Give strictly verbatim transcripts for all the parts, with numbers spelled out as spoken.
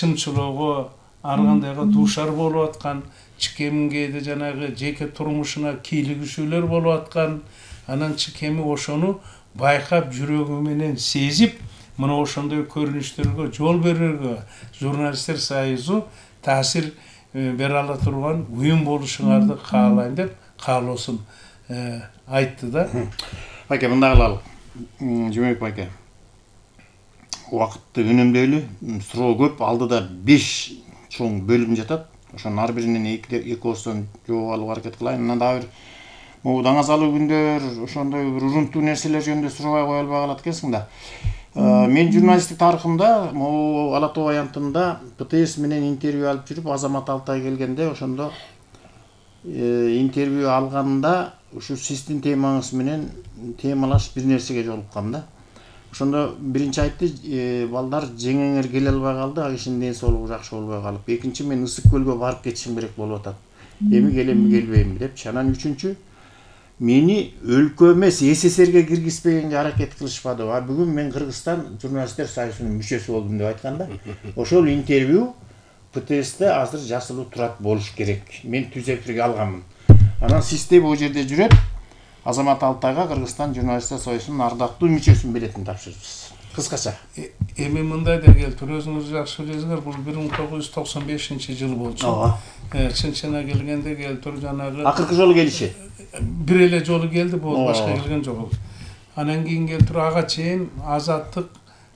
чымчылоого ар кандайга дуушар болуп аткан, чыкемгеде жанагы жеке турмушуна кийлигишүүлөр болуп аткан. Анан чыкеми ошону байкап жүрөгү менен сезип, мына ошондой көрүнүштөргө жол берүүгө журналисттер союзу таасир бере ала турган уюм болушуңарды каалайм деп каалоосун айтты да. Байке, мындай кылалы. Жумабек байке, убакытты үнөмдөйлү, суроо көп, алдыда беш чоң бөлүм жатат. Ошонун ар биринен эки ооздон жооп алууга аракет кылайын. Анан дагы бир могу даңазалуу күндөр, ошондой бир урунтуу нерселер жөнүндө сурабай кое албай калат экенсиң да. Мен журналисттик тарыхымда, могу Ала Тоо аянтында П Т С менен интервью алып жүрүп, Азамат Алтай келгенде, ошондо интервью алганда ушу сиздин темаңыз менен темалаш бир нерсеге жолуккам да. Ошондо биринчи айтты, балдар жеңеңер келе албай калды, а кишинин ден соолугу жакшы болбой калып. Экинчи, мен Ысык көлгө барып кетишим керек болуп атат. Эми келемби, келбеймби депчи. Анан үчүнчү, мени өлкө эмес С С Рге киргизбегенге аракет кылышпады. А бүгүн мен Кыргызстан журналисттер союзунун мүчөсү болдум деп айткан да. Ошол интервью П Т Сте азыр жасылуу турат болуш керек. Мен түз эфирге алганмын. Анан сизде бул жерде жүрөт Азамат Алтайга Кыргызстан журналисттер союзунун ардактуу мүчөсүн беретин тапшырыпсыз. Кыскача. Эми мындай да келтир, өзүңүз жакшы билесиңер, бул бир миң тогуз жүз токсон бешинчи жыл болчу. Ооба. Чын-чына келгенде келтир жанагы акыркы жолу келиши. Бир эле жолу келди, бул башка келген жок. Анан кийин келтир ага чейин Азаттык,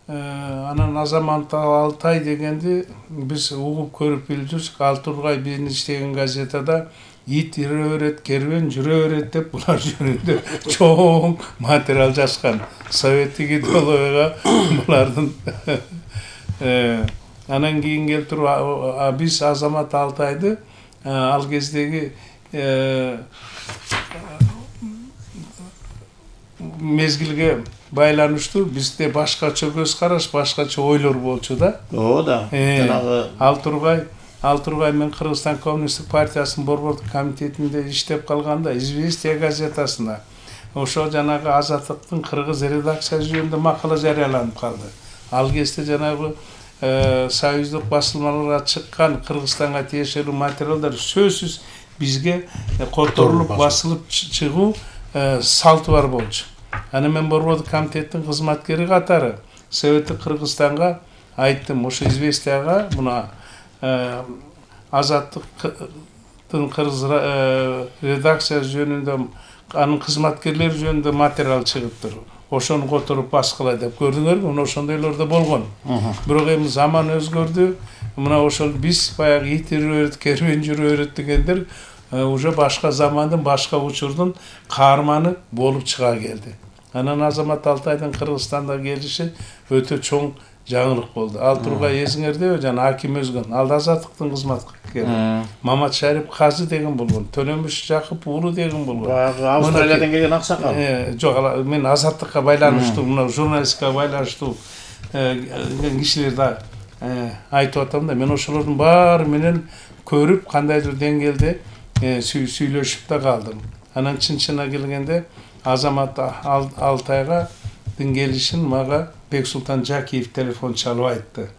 анан Азамат Алтай дегенди биз угуп көрүп билип жүрсүк. Ал Тургай биздин иштеген газетада ит ире берет, кербен жүрө берет деп булар жөнүндө чоң материал жазган. Советтик идеологияга булардын анан кийин келтир биз Азамат Алтайды ал кездеги мезгилге байланыштуу бизде башкача көз караш, башкача ойлор болчу да. Ооба да. Жанагы Ал Тургай Ал Тургай мен Кыргызстан Коммунисттик партиясынын борбордук комитетинде иштеп калганда Известия газетасына ошо жанагы Азаттыктын кыргыз редакциясы жөнүндө макала жарыяланып калды. Ал кезде жанагы союздук басылмаларга чыккан Кыргызстанга тиешелүү материалдар сөзсүз бизге которулуп басылып чыгуу салты бар болчу. Аны мен борбордук комитеттин кызматкери катары Советтик Кыргызстанга айттым, ошо Известияга мына Азаттыктын кыргыз редакциясы жөнүндө анын кызматкерлери жөнүндө материал чыгыптыр. Ошону которуп баскыла деп көрдүңөрбү? Мына ошондойлор да болгон. Бирок эми заман өзгөрдү. Мына ошол биз баягы ит ире берет, кербен жүрө берет дегендер уже башка замандын, башка учурдун каарманы болуп чыга келди. Анан Азамат Алтайдын Кыргызстанда келиши өтө чоң жаңылык болду. Ал Тургай эсиңердеби, жана Аким Өзгөн, ал Азаттыктын кызматкери. Мамат Шарип Казы деген болгон, Төлөмүш Жакып уулу деген болгон. Баягы Австралиядан келген аксакал. Жок, мен Азаттыкка байланыштуу, мына журналистикага байланыштуу кишилерди айтып атам да. Мен ошолордун баары менен көрүп, кандайдыр деңгээлде сүйлөшүп да калдым. Анан чын-чына келгенде Азамат Алтайга келишин мага Бексултан Жакиев телефон чалып айтты.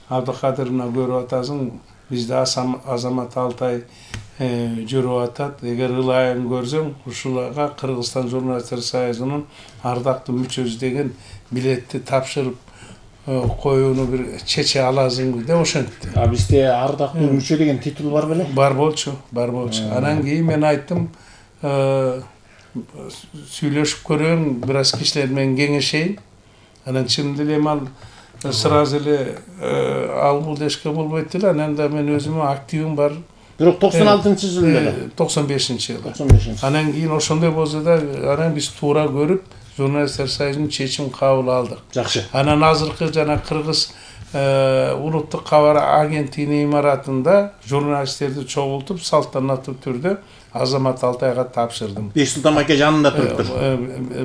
Абдыкадыр, мына көрүп атасың, бизде Азамат Алтай жүрүп атат. Эгер ылайын көрсөң, ушуларга Кыргызстан журналисттер союзунун ардактуу мүчөсү деген билетти тапшырып коюуну бир чече аласыңбы деп ошентти. А бизде ардактуу мүчө деген титул бар беле? Бар болчу, бар болчу. Анан кийин мен айттым, сүйлөшүп көрөм, бир аз кишилер менен кеңешейин. Анан чынында эле ал сразу эле ал бул дешке болбойт эле. Анан да мен өзүмө активим бар. Бирок токсон алтынчы жыл эле. токсон бешинчи жыл. токсон бешинчи. Анан кийин ошондой болсо да, анан биз туура көрүп, журналисттер союзунун чечим кабыл алдык. Жакшы. Анан азыркы жана Кыргыз улуттук кабар агенттигинин имаратында журналисттерди чогултуп, салтанаттуу түрдө Азамат Алтайга тапшырдым. Бексултан байке жанында туруптур.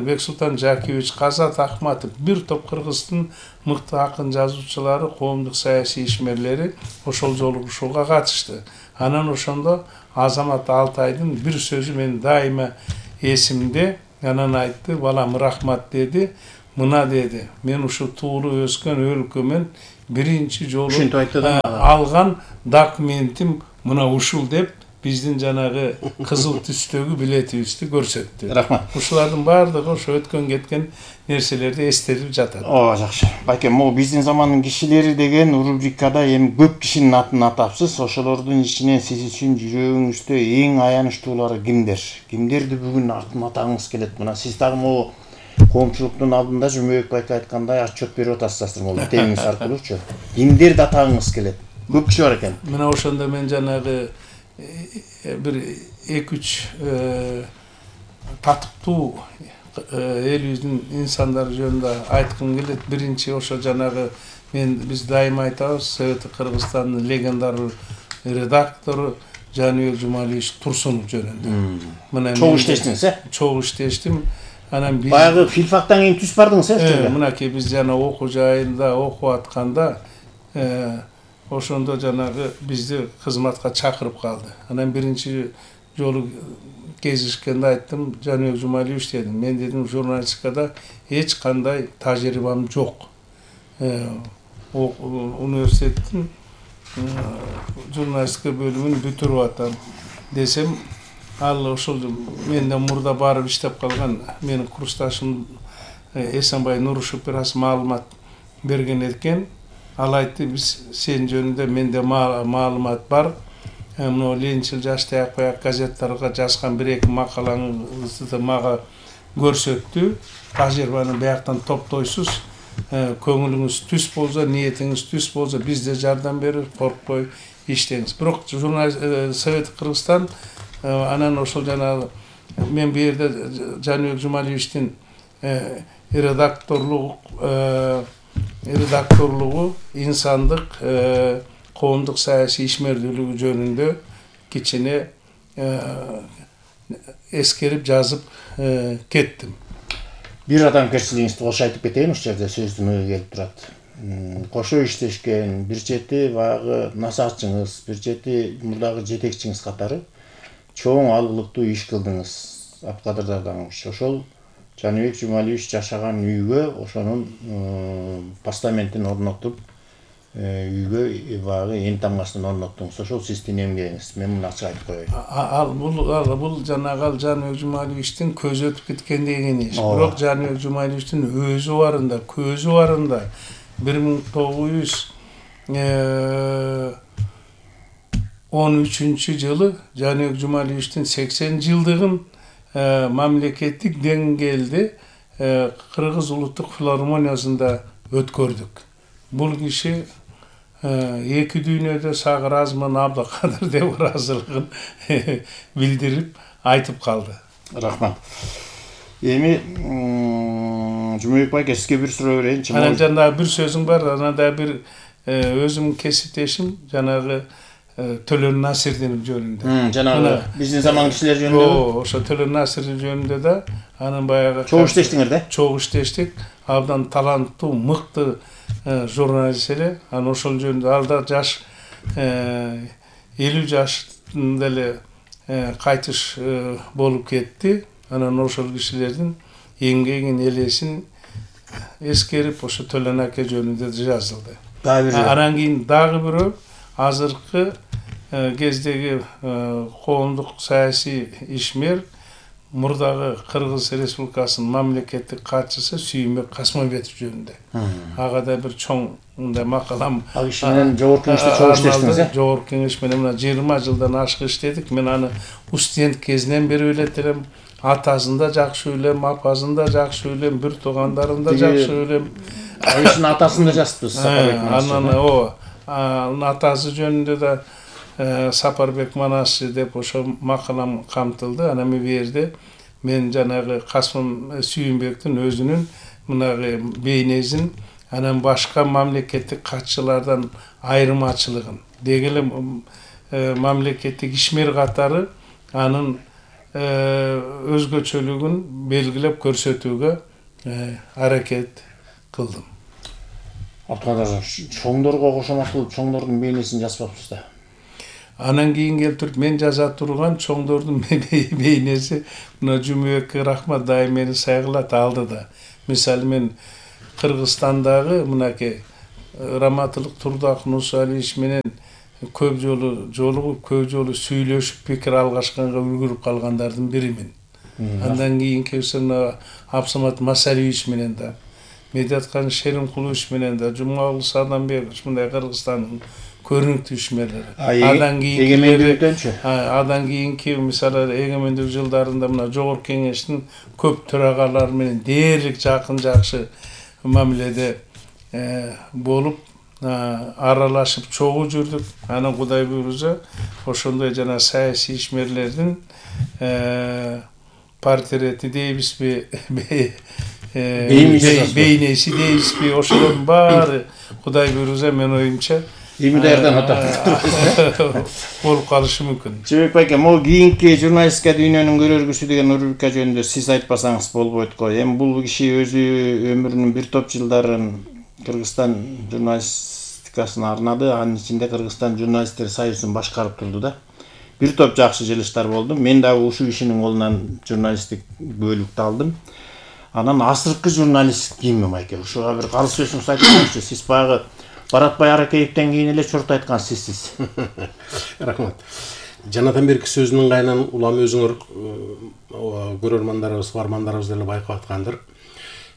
Бексултан Жакиевич, Казат Акматов, бир топ Кыргыздын мыкты акын жазуучулары, коомдук саясий ишмерлери ошол жолугушууга катышты. Анан ошондо Азамат Алтайдын бир сөзү мен дайыма эсимде. Анан айтты, балам рахмат деди. Мына деди, мен ушу туулуп өскөн өлкөмөн биринчи жолу ушинтип айтты да алган документим мына ушул деп биздин жанагы кызыл түстөгү билетибизди көрсөттү. Рахмат. Ушулардын баардыгы ошо өткөн кеткен нерселерди эстелип жатат. Ооба, жакшы. Байке, могу биздин замандын кишилери деген рубрикада эми көп кишинин атын атапсыз. Ошолордун ичинен сиз үчүн жүрөгүңүздө эң аянычтуулары кимдер? Кимдерди бүгүн атын атагыңыз келет? Мына сиз дагы могу коомчулуктун алдында Жумабек байке айткандай отчет берип атасыздар могу темиңиз аркылуучу. Кимдерди атагыңыз келет? Көп киши бар экен. Мына ошондо мен жанагы бир эки үч татыктуу элибиздин инсандары жөнүндө айткым келет. Биринчи ошо жанагы мен биз дайыма айтабыз, Совет Кыргызстандын легендар редактору Жаныбек Жумалиевич Турсунов жөнүндө. Мына чогуу иштештиңиз, э? Чогуу иштештим. Анан биз баягы филфактан кийин түз бардыңыз, э? Э, мынакей биз жана окуу жайында окуп атканда ошондо жанагы бизди кызматка чакырып калды. Анан биринчи жолу кезишкенде айттым, Жаныбек Жумалиевич дедим, мен дедим журналистикада эч кандай тажрыйбам жок. Университеттин журналистика бөлүмүн бүтүрүп атам десем, ал ошол менден мурда барып иштеп калган менин курсташым Эсенбай Нурушев бир аз маалымат берген экен. Ал айтты, биз сен жөнүндө менде маалымат бар. Мына Ленинчил жаш таяк газеттарга жазган бир эки макалаңызды мага көрсөттү. Тажрыйбаны бияктан топтойсуз. Көңүлүңүз түз болсо, ниетиңиз түз болсо, бизде жардам берип, коркпой иштеңиз. Бирок журналист Совет Кыргызстан анан ошол жана мен бу жерде Жаныбек Жумалиевичтин редакторлугу редакторлугу, инсандык, коомдук саясий ишмердүүлүгү жөнүндө кичине эскерип жазып кеттим. Бир адамгерчилигиңизди кошо айтып кетейин, ушул жерде сөздүн ою келип турат. Кошо иштешкен, бир чети баягы насаатчыңыз, бир чети мурдагы жетекчиңиз катары чоң алгылыктуу иш кылдыңыз. Абкадыр Дарданович, ошол Жаныбек Жумалиевич жашаган үйгө ошонун постаментин орнотуп, үйгө баягы эң тамгасын орноттуңуз. Ошол сиздин эмгегиңиз. Мен муну ачык айтып коеюн. Ал бул бул жанагы Жаныбек Жумалиевичтин көзү өтүп кеткендеген иш. Бирок Жаныбек Жумалиевичтин өзү барында, көзү барында бир миң тогуз жүз он үчүнчү жылы Жаныбек Жумалиевичтин сексен жылдыгын мамлекеттик деңгээлде Кыргыз улуттук филармониясында өткөрдүк. Бул киши эки дүйнөдө сага ыраазымын, Абдыкадыр деп ыраазылыгын билдирип айтып калды. Рахмат. Эми Жумабек байке, сизге бир суроо берейинчи. Анан жанагы бир сөзүң бар, анан да бир өзүм кесиптешим жанагы Төлөн Насирдин жөнүндө. Жанагы биздин заман кишилери жөнүндө. Ошо Төлөн Насир жөнүндө да анын баягы чогуу иштештиңер да? Чогуу иштештик. Абдан таланттуу, мыкты журналист эле. Анан ошол жөнүндө ал да жаш элүү жаштын эле кайтыш болуп кетти. Анан ошол кишилердин эмгегин, элесин эскерип, ошо Төлөн аке жөнүндө жазылды. Анан кийин дагы бирөө азыркы кездеги коомдук саясий ишмер, мурдагы Кыргыз Республикасынын мамлекеттик катчысы Сүйүнбек Касмамбетов жөнүндө. Ага да бир чоң мындай макалам. Ал киши менен жогорку кеңеште чогуу иштештиңиз, э? Жогорку кеңеш менен мына жыйырма жылдан ашык иштедик. Мен аны студент кезинен бери билет элем. Атасын да жакшы билем, апасын да жакшы билем, бир туугандарын да жакшы билем. Ал кишинин атасын да жазыппыз, Сапарбек Манасчы. Анан ооба. Анын атасы жөнүндө да Сапарбек Манасчы деп ошо макалам камтылды. Анан бу жерде мен жанагы Касым Сүйүнбектин өзүнүн мынагы бейнесин, анан башка мамлекеттик катчылардан айырмачылыгын, деги эле мамлекеттик ишмер катары анын өзгөчөлүгүн белгилеп көрсөтүүгө аракет кылдым. Абдыкадыр, чоңдорго кошомат кылып чоңдордун бейнесин жазбапсыз да. Анан кийин келтирип мен жаза турган чоңдордун бейнеси мына Жумабекке рахмат, дайым мени сайгылат алды да. Мисалы мен Кыргызстандагы мынакей Раматылык Турдак Нусалиевич менен көп жолу жолугуп, көп жолу сүйлөшүп пикир алгашканга үлгүрүп калгандардын биримин. Андан кийинки Абсамат Масалиевич менен да, Медаткан Шеримкулович менен да, Жумагул Саданбекович мындай Кыргызстандын көрүнүктүү ишмерлери. Андан кийинки Андан кийинки мисалы эгемендик жылдарында мына Жогорку Кеңештин көп төрагалары менен дээрлик жакын жакшы мамиледе болуп, аралашып чогуу жүрдүк. Анан Кудай буйруза ошондой жана саясий ишмерлердин портрети дейбизби, бейнеси дейбизби, ошолордун баары Кудай буйруза мен оюмча эми даярдан атат болуп калышы мүмкүн. Жебек байке, могу кийинки журналистика дүйнөнүн көрөргүсү деген рубрика жөнүндө сиз айтпасаңыз болбойт го. Эми бул киши өзү өмүрүнүн бир топ жылдарын Кыргызстан журналистикасына арнады, анын ичинде Кыргызстан журналисттер союзун башкарып турду да. Бир топ жакшы жылыштар болду. Мен дагы ушул кишинин колунан журналисттик бөлүктү алдым. Анан асыркы журналист ким байке? Ушуга бир калыс сөзүңүз айтсаңызчы. Сиз баягы Баратбай Аракеевден кийин эле чорт айткан сизсиз. Рахмат. Жанатан берки сөзүнүн кайынан улам өзүңөр көрөрмандарыбыз, бармандарыбыз деле байкап аткандыр.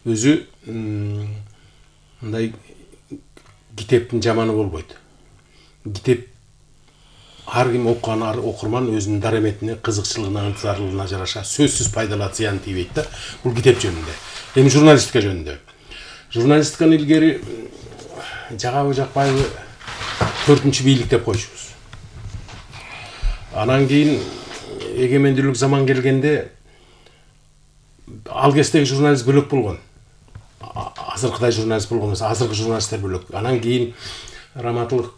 Өзү мындай китептин жаманы болбойт. Китеп ар ким окуган окурман өзүнүн дараметине, кызыкчылыгына, ынтызарлыгына жараша сөзсүз пайдалуу зыян тийбейт да. Бул китеп жөнүндө. Эми журналистика жөнүндө. Журналистиканы илгери жагабы жакпайбы төртүнчү бийлик деп койчубуз. Анан кийин эгемендүүлүк заман келгенде ал кездеги журналист бөлөк болгон. Азыркыдай журналист болгон эмес, азыркы журналисттер бөлөк. Анан кийин Раматылык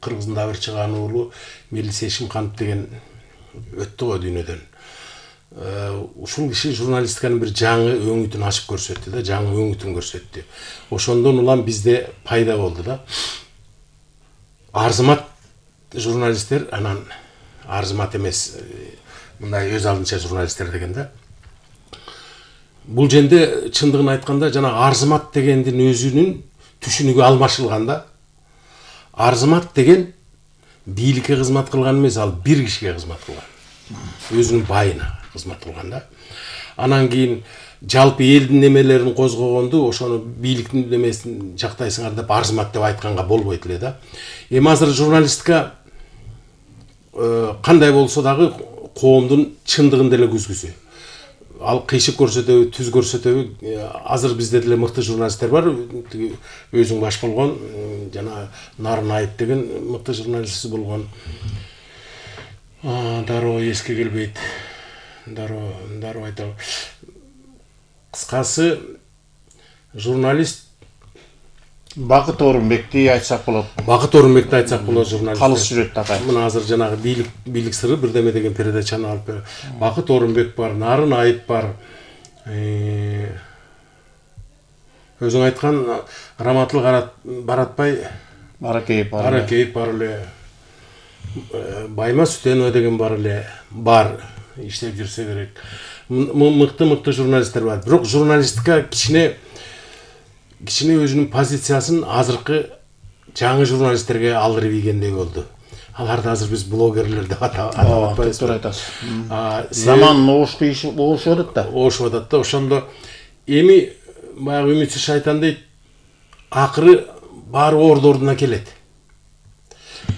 Кыргыздын да бир чыгаан уулу Мелис Эшимканов деген өттү го дүйнөдөн. Ушул киши журналистиканын бир жаңы өңүтүн ачып көрсөттү да, жаңы өңүтүн көрсөттү. Ошондон улам бизде пайда болду да. Арзымат журналисттер, анан арзымат эмес, мындай өз алдынча журналисттер деген да. Бул жерде чындыгын айтканда жана арзымат дегендин өзүнүн түшүнүгү алмашылган да. Арзымат деген бийликке кызмат кылган эмес, ал бир кишиге кызмат кылган. Өзүнүн байына кызмат кылган да. Анан кийин жалпы элдин немелерин козгогонду, ошону бийликтин немесин жактайсыңар деп арзымат деп айтканга болбойт эле да. Эми азыр журналистика кандай болсо дагы коомдун чындыгын деле күзгүсү. Ал кыйшык көрсөтөбү, түз көрсөтөбү, азыр бизде деле мыкты журналисттер бар. Өзүң баш болгон жана Нарын Айып деген мыкты журналист болгон. Дароо эске келбейт. Дароо, дароо айтам. Кыскасы журналист Бакыт Орунбекти айтсак болот. Бакыт Орунбекти айтсак болот журналист. Калыс жүрөт такай. Мына азыр жанагы бийлик бийлик сыры бирдеме деген передачаны алып бер. Бакыт Орунбек бар, Нарын Айып бар. Өзүң айткан Раматылык Баратбай Аракеев бар. Аракеев бар эле. Байма Сүтенова деген бар эле. Бар, иштеп жүрсө керек. Мыкты-мыкты журналисттер бар. Бирок журналистика кичине кичине өзүнүн позициясын азыркы жаңы журналисттерге алдырып ийгендей болду. Аларды азыр биз блогерлер деп атабыз. Туура айтасыз. Заман оошку иш оошуп атат да. Оошуп атат да. Ошондо эми баягы үмүтсүз шайтан дейт, акыры баары орду ордуна келет.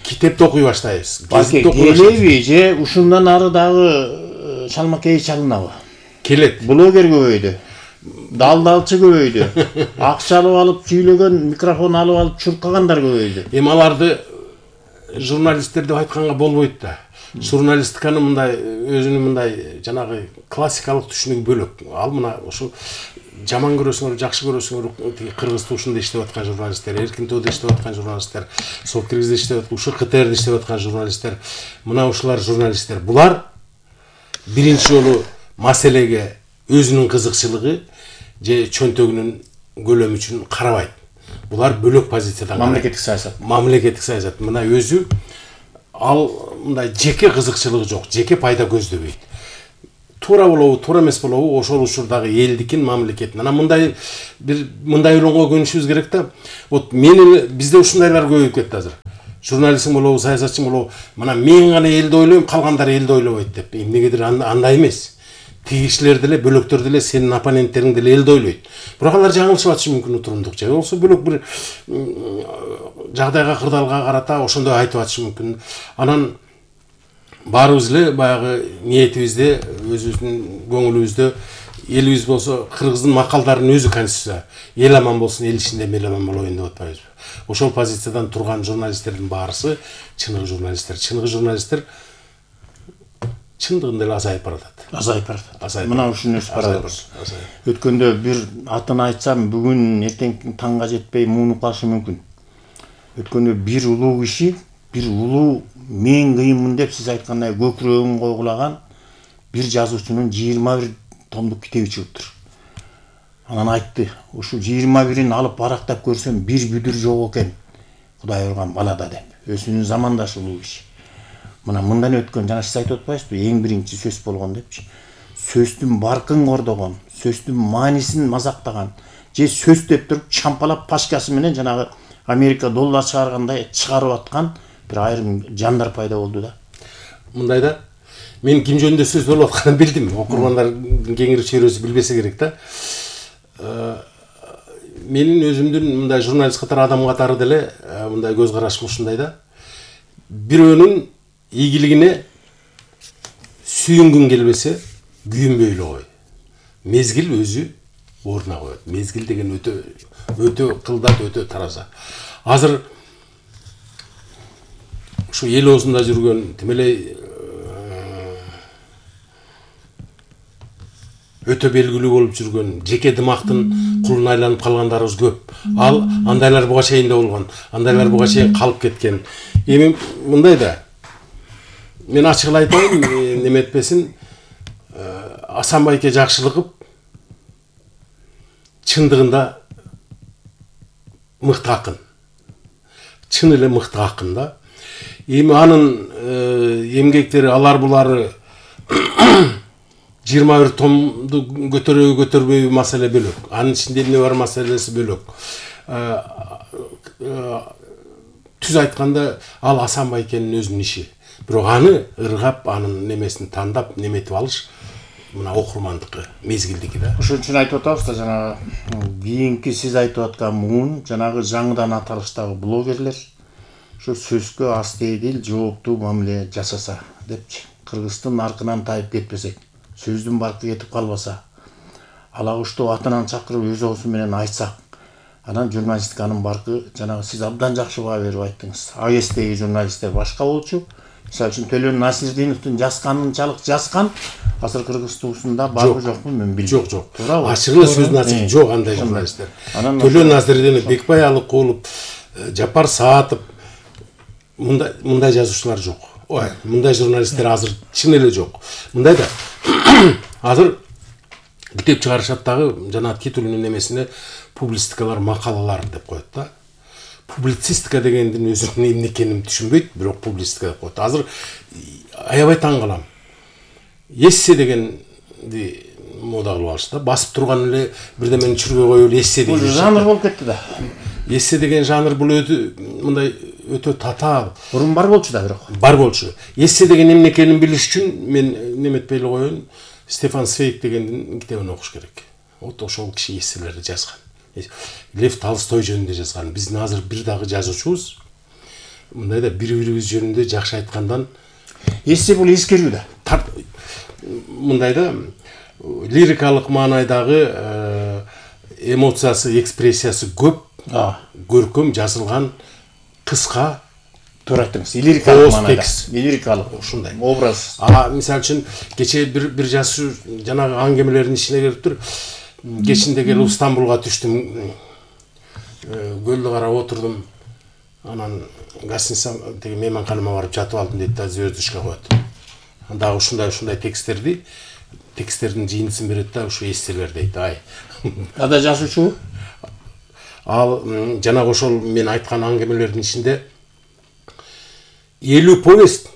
Китепти окуй баштайбыз. Гезитти окуй баштайбыз. Же ушундан ары дагы шалмакей чалынабы? Келет. Блогер көбөйдү. Далдалчы көбөйдү. Акча алып алып сүйлөгөн, микрофон алып алып чуркагандар көбөйдү. Эми аларды журналисттер деп айтканга болбойт да. Журналистиканы мындай өзүнүн мындай жанагы классикалык түшүнүгү бөлөк. Ал мына ошо жаман көрөсүңөр, жакшы көрөсүңөр, Кыргыз тушунда иштеп аткан журналисттер, Эркин тоодо иштеп аткан журналисттер, Софт Киргизде иштеп аткан, ушу КТРде иштеп аткан журналисттер, мына ушулар журналисттер. Булар биринчи жолу маселеге өзүнүн кызыкчылыгы же чөнтөгүнүн көлөмү үчүн карабайт. Булар бөлөк позициядан мамлекеттик саясат. Мамлекеттик саясат. Мына өзү ал мындай жеке кызыкчылыгы жок, жеке пайда көздөбөйт. туура болобу туура эмес болобу ошол учурдагы элдикин мамлекеттин анан мындай бир мындай ойлонго көнүшүбүз керек да. Вот менин бизде ушундайлар көбөйүп кетти азыр. Журналистсиң болобу, саясатчың болобу, мына мен гана элди ойлойм, калгандары элди ойлобойт деп. Эмнегедир андай эмес. Тиги кишилер деле, бөлөктөр деле, сенин оппоненттериң деле элди ойлойт. Бирок алар жаңылышып атышы мүмкүн утурумдук же. Болсо бөлөк бир жагдайга, кырдаалга карата ошондой айтып атышы мүмкүн. Анан баарыбыз эле баягы ниетибизде, өзүбүздүн көңүлүбүздө элибиз болсо кыргыздын макалдарынын өзү конституция. Эл аман болсун, эл ичинде эл аман болоюн деп атпайбызбы. Ошол позициядан турган журналисттердин баарысы чыныгы журналисттер. Чыныгы журналисттер чындыгында эле азайып баратат. Азайып баратат. Мына ушуну өсүп барабыз. Өткөндө бир атын айтсам, бүгүн эртең таңга жетпей муунуп калышы мүмкүн. Өткөндө бир улуу киши, бир улуу мен кыйынмын деп сиз айткандай көкүрөгүн койгулаган бир жазуучунун жыйырма бир томдук китеби чыгыптыр. Анан айтты, ушу жыйырма бирин алып барактап көрсөм бир бүдүр жок экен. Кудай урган балада деп. Өзүнүн замандашы улуу киши. Мына мындан өткөн, жана сиз айтып атпайсызбы, эң биринчи сөз болгон депчи. Сөздүн баркын кордогон, сөздүн маанисин мазактаган, же сөз деп туруп чампалап пашкасы менен жанагы Америка доллар чыгаргандай чыгарып аткан бир айрым жандар пайда болду да. Мындай да, мен ким жөнүндө сөз болуп атканын билдим. Окурмандар кеңири чөйрөсү билбесе керек да. Менин өзүмдүн мындай журналист катары адам катары деле мындай көз карашым ушундай да. Бирөөнүн ийгилигине сүйүнгүң келбесе, күйүнбөй эле кой. Мезгил өзү ордуна коет. Мезгил деген өтө өтө кылдат, өтө тараза. Азыр ушу эл оозунда жүргөн тимелей өтө белгилүү болуп жүргөн жеке дымактын кулуна айланып калгандарыбыз көп. Ал андайлар буга чейин да болгон, андайлар буга чейин калып кеткен. Эми мындай да. Мен ачык эле айтайын, неме этпесин, Асанбайке Жакшылыков чындыгында мыкты акын. Чын эле мыкты акын да. Эми анын эмгектери алар булары жыйырма бир томду көтөрөбү көтөрбөйбү маселе бөлөк. Анын ичинде эмне бар маселеси бөлөк. Түз айтканда ал Асанбайкенин өзүнүн иши. Бирок аны ыргап, анын немесин тандап, неметип алыш мына окурмандыкы, мезгилдики да. Ошон үчүн айтып атабыз да, жанагы кийинки сиз айтып аткан муун, жанагы жаңыдан аталыштагы блогерлер ошо сөзгө астейдил, жооптуу мамиле жасаса депчи. Кыргыздын аркынан тайып кетпесек, сөздүн баркы кетип калбаса, алагуштуу атынан чакырып өз оозу менен айтсак, анан журналистиканын баркы жанагы сиз абдан жакшы баа берип айттыңыз. АГСтеги журналисттер башка болчу. Мисалы үчүн Төлөн Насирдиновдун жазганынчалык жазган азыр Кыргыз туусунда барбы жокпу мен билбейм. Жок, жок. Туурабы? Ачык эле сөздүн ачык жок андай журналисттер. Төлөн Насирдинов, Бекбай Алыкулов, Жапар Саатов мындай мындай жазуучулар жок. Ой, мындай журналисттер азыр чын эле жок. Мындай да. Азыр китеп чыгарышат дагы жана титулунун немесине публистикалар, макалалар деп коет да. Публицистика дегендин өзүнүн эмне экенин түшүнбөйт, бирок публистика деп коет. Азыр аябай таң калам. Эссе дегенди мода кылып алышты да. Басып турган эле бирдемени чүргөй коюп эле эссе деген. Бул жанр болуп кетти да. Эссе деген жанр бул өтө мындай өтө татаал. Бурун бар болчу да бирок. Бар болчу. Эссе деген эмне экенин билиш үчүн мен неметпей эле коеюн, Стефан Цвейг дегендин китебин окуш керек. Вот ошол киши эсселерди жазган. Лев Толстой жөнүндө жазган. Биздин азыр бир дагы жазуучубуз мындай да бири-бирибиз жөнүндө жакшы айткандан эссе бул эскерүү да. Мындай да лирикалык маанайдагы эмоциясы, экспрессиясы көп, көркөм жазылган, кыска, туура айттыңыз. Лирикалык маанайда. Лирикалык ушундай образ. А мисалы үчүн кече бир бир жазуучу жанагы аңгемелердин ичине кириптир. Кечинде келип Стамбулга түштүм. Көлдү карап отурдум. Анан гостиница деги мейманканама барып жатып алдым дейт да, звездочка коет. Анда ушундай ушундай тексттерди, тексттердин жыйынтысын берет да, ушу эсселер дейт. Ай. Ада жазуучу? Ал жанагы ошол мен айткан аңгемелердин ичинде элүү повесть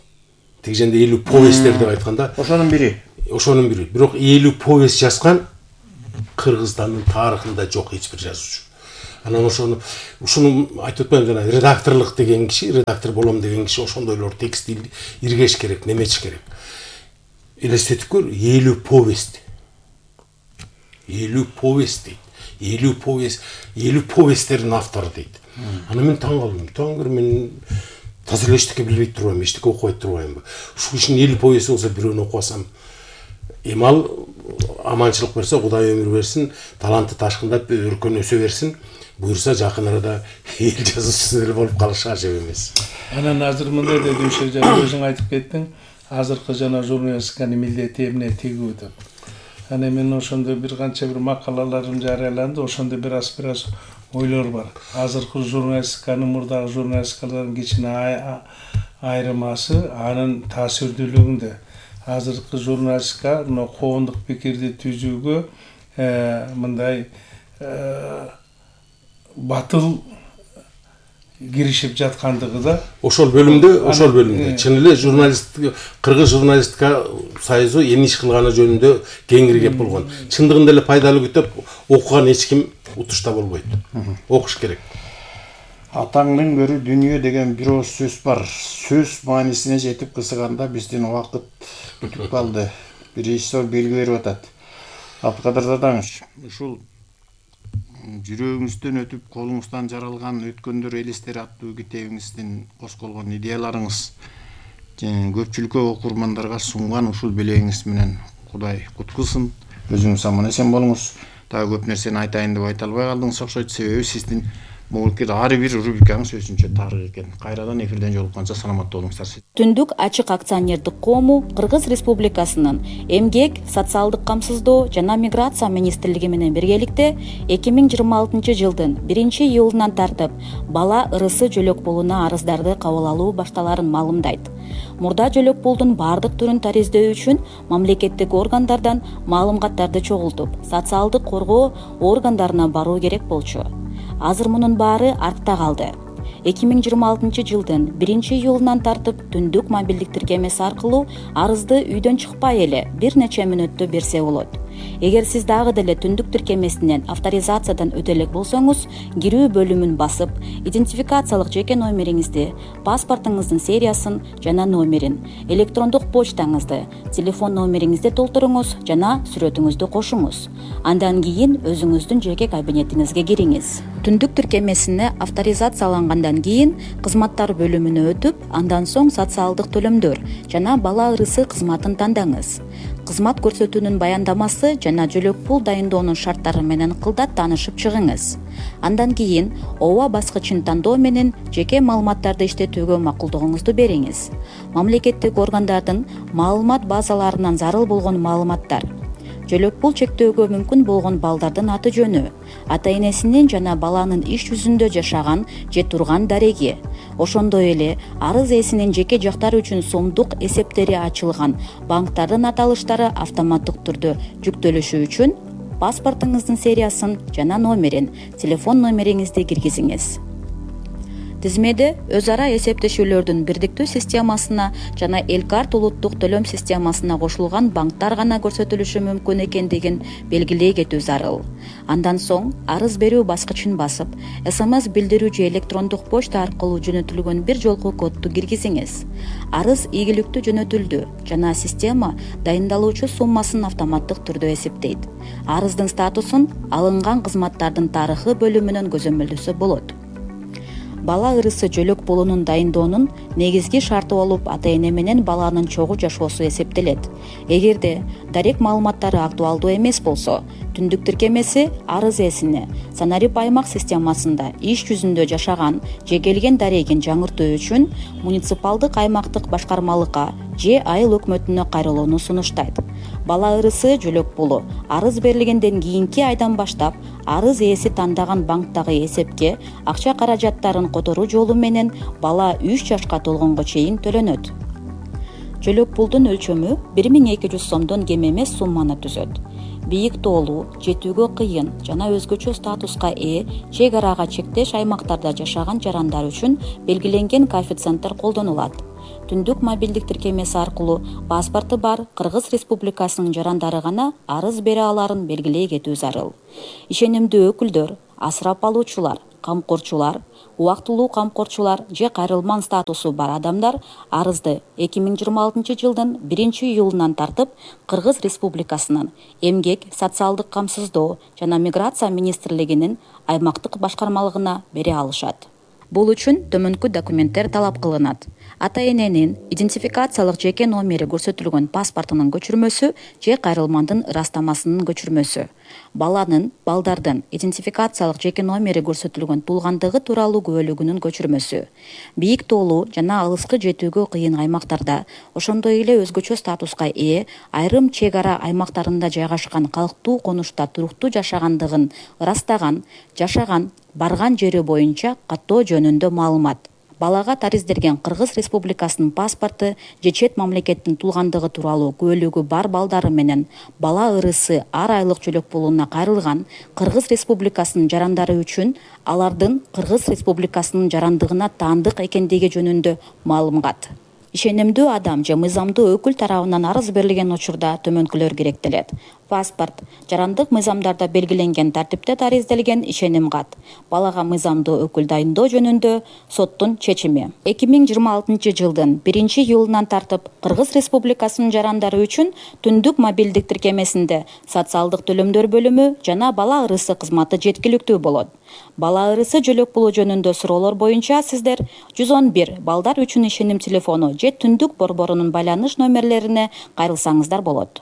тиги жерде элүү повесттер деп айтканда ошонун бири. Ошонун бири. Бирок элүү повест жазган Кыргызстандын тарыхында жок эч бир жазуучу. Анан ошону ушуну айтып атпаймынбы, жана редакторлук деген киши, редактор болом деген киши ошондойлор текстти иргеш керек, немечиш керек. Элестетип көр, элүү повест. элүү повест дейт. элүү повест, элүү повесттердин автору дейт. Анан мен таң калдым. Таң көр, мен таза эле эчтеке билбей турбайм, эчтеке окубай турбаймбы. Ушул кишинин элүү повести болсо бирөөнү окуп алсам, эми ал аманчылык берсе, Кудай өмүр берсин, таланты ташкындап өркөн өсө берсин, буюрса жакын арада эл жазуучусу деле болуп калышы ажап эмес. Анан азыр мындай деди, ошо жана өзүң айтып кеттиң, азыркы жана журналистиканын милдети эмне тигүү деп. Анан мен ошондо бир канча бир макалаларым жарыяланды, ошондо бир аз бир аз ойлор бар. Азыркы журналистиканын мурдагы журналистикалардын кичине айырмасы анын таасирдүүлүгүндө. Азыркы журналистика мына коомдук пикирди түзүүгө мындай батыл киришип жаткандыгы да. Ошол бөлүмдө, ошол бөлүмдө чын эле журналистика, Кыргыз журналистика союзу эмне иш кылганы жөнүндө кеңири кеп болгон. Чындыгында эле пайдалуу күтүп окуган эч ким утушта болбойт. Окуш керек. Атаңдын көрү дүнүйө деген бир ооз сөз бар. Сөз маанисине жетип кысыганда биздин убакыт бүтүп калды. Бир режиссер белги берип атат. Абдыкадыр Заданович, ушул жүрөгүңүздөн өтүп колуңуздан жаралган өткөндөр элестери аттуу китебиңиздин косколгон идеяларыңыз көпчүлүккө, окурмандарга сунган ушул белегиңиз менен Кудай кут кылсын. Өзүңүз аман эсен болуңуз. Дагы көп нерсени айтайын деп айта албай калдыңыз окшойт, себеби сиздин могулкет ар бир рубрикаңыз өзүнчө тарых экен. Кайрадан эфирден жолукканча саламат болуңуздар. Түндүк ачык акционердик коому Кыргыз Республикасынын Эмгек, социалдык камсыздоо жана миграция министрлиги менен биргеликте эки миң жыйырма алтынчы жылдын биринчи июлунан тартып бала ырысы жөлөк пулуна арыздарды кабыл алуу башталарын маалымдайт. Мурда жөлөк пулдун бардык түрүн тариздөө үчүн мамлекеттик органдардан маалыматтарды чогултуп, социалдык коргоо органдарына баруу керек болчу. Азыр мунун баары артта калды. эки миң жыйырма алтынчы жылдын биринчи июлунан тартып түндүк мобилдик тиркемеси аркылуу арызды үйдөн чыкпай эле бир нече мүнөттө берсе болот. Эгер сиз дагы деле түндүк тиркемесинен авторизациядан өтө элек болсоңуз, кирүү бөлүмүн басып, идентификациялык жеке номериңизди, паспортуңуздун сериясын жана номерин, электрондук почтаңызды, телефон номериңизди толтуруңуз жана сүрөтүңүздү кошуңуз. Андан кийин өзүңүздүн жеке кабинетиңизге кириңиз. Түндүк тиркемесине авторизациялангандан кийин кызматтар бөлүмүнө өтүп, андан соң социалдык төлөмдөр жана бала ырысы кызматын тандаңыз. Кызмат көрсөтүүнүн баяндамасы жана жөлөк пул дайындоонун шарттары менен кылдат таанышып чыгыңыз. Андан кийин ооба баскычын тандоо менен жеке маалыматтарды иштетүүгө макулдугуңузду бериңиз. Мамлекеттик органдардын маалымат базаларынан зарыл болгон маалыматтар, жөлөк пул чектөөгө мүмкүн болгон балдардын аты жөнү, ата энесинин жана баланын иш жүзүндө жашаган же турган дареги, ошондой эле арыз ээсинин жеке жактары үчүн сомдук эсептери ачылган банктардын аталыштары автоматтык түрдө жүктөлүшү үчүн паспортуңуздун сериясын жана номерин, телефон номериңизди киргизиңиз. Тизмеде өз ара эсептешүүлөрдүн бирдиктүү системасына жана Элкарт улуттук төлөм системасына кошулган банктар гана көрсөтүлүшү мүмкүн экендигин белгилей кетүү зарыл. Андан соң арыз берүү баскычын басып, эс эм эс билдирүү же электрондук почта аркылуу жөнөтүлгөн бир жолку кодду киргизиңиз. Арыз ийгиликтүү жөнөтүлдү жана система дайындалуучу суммасын автоматтык түрдө эсептейт. Арыздын статусун алынган кызматтардын тарыхы бөлүмүнөн көзөмөлдөсө болот. Бала ырысы жөлөк пулунун дайындоонун негизги шарты болуп ата эне менен баланын чогуу жашоосу эсептелет. Эгерде дарек маалыматтары актуалдуу эмес болсо, түндүк тиркемеси арыз ээсине санарип аймак системасында иш жүзүндө жашаган же келген дарегин жаңыртуу үчүн муниципалдык аймактык башкармалыкка же айыл өкмөтүнө кайрылууну сунуштайт. Бала ырысы жөлөк пулу арыз берилгенден кийинки айдан баштап арыз ээси тандаган банктагы эсепке акча каражаттарын которуу жолу менен бала үч жашка толгонго чейин төлөнөт. Жөлөк пулдун өлчөмү бир миң эки жүз сомдон кем эмес сумманы түзөт. Бийик тоолуу, жетүүгө кыйын жана өзгөчө статуска ээ чек арага чектеш аймактарда жашаган жарандар үчүн белгиленген коэффициенттер колдонулат. түндүк мобилдик тиркемеси аркылуу паспорту бар Кыргыз Республикасынын жарандары гана арыз бере аларын белгилей кетүү зарыл. Ишенимдүү өкүлдөр, асырап алуучулар, камкорчулар, убактылуу камкорчулар же кайрылман статусу бар адамдар арызды эки миң жыйырма алтынчы жылдын биринчи июлунан тартып Кыргыз Республикасынын Эмгек, социалдык камсыздоо жана миграция министрлигинин аймактык башкармалыгына бере алышат. Бул үчүн төмөнкү документтер талап кылынат. Ата-эненин идентификациялык жеке номери көрсөтүлгөн паспортунун көчүрмөсү же кайрылмандын ырастамасынын көчүрмөсү. Баланын, балдардын идентификациялык жеке номери көрсөтүлгөн туулгандыгы тууралуу күбөлүгүнүн көчүрмөсү. Бийик тоолуу жана алыскы жетүүгө кыйын аймактарда, ошондой эле өзгөчө статуска ээ айрым чек ара аймактарында жайгашкан калктуу конушта туруктуу жашагандыгын ырастаган, жашаган, барган жери боюнча каттоо жөнүндө маалымат. Балага тариздерген Кыргыз Республикасынын паспорту же чет мамлекеттин туулгандыгы тууралуу күбөлүгү бар балдары менен бала ырысы ар айлык жөлөк пулуна кайрылган Кыргыз Республикасынын жарандары үчүн алардын Кыргыз Республикасынын жарандыгына таандык экендиги жөнүндө маалымат. Ишенимдүү адам же мыйзамдуу өкүл тарабынан арыз берилген учурда төмөнкүлөр керектелет. Паспорт, жарандык мыйзамдарда белгиленген тартипте таризделген ишеним кат, балага мыйзамдуу өкүл дайындоо жөнүндө соттун чечими. эки миң жыйырма алтынчы жылдын биринчи июлунан тартып Кыргыз Республикасынын жарандары үчүн түндүк мобилдик тиркемесинде социалдык төлөмдөр бөлүмү жана бала ырысы кызматы жеткиликтүү болот. Бала ырысы жөлөк пулу жөнүндө суроолор боюнча сиздер жүз он бир балдар үчүн ишеним телефону же түндүк борборунун байланыш номерлерине кайрылсаңыздар болот.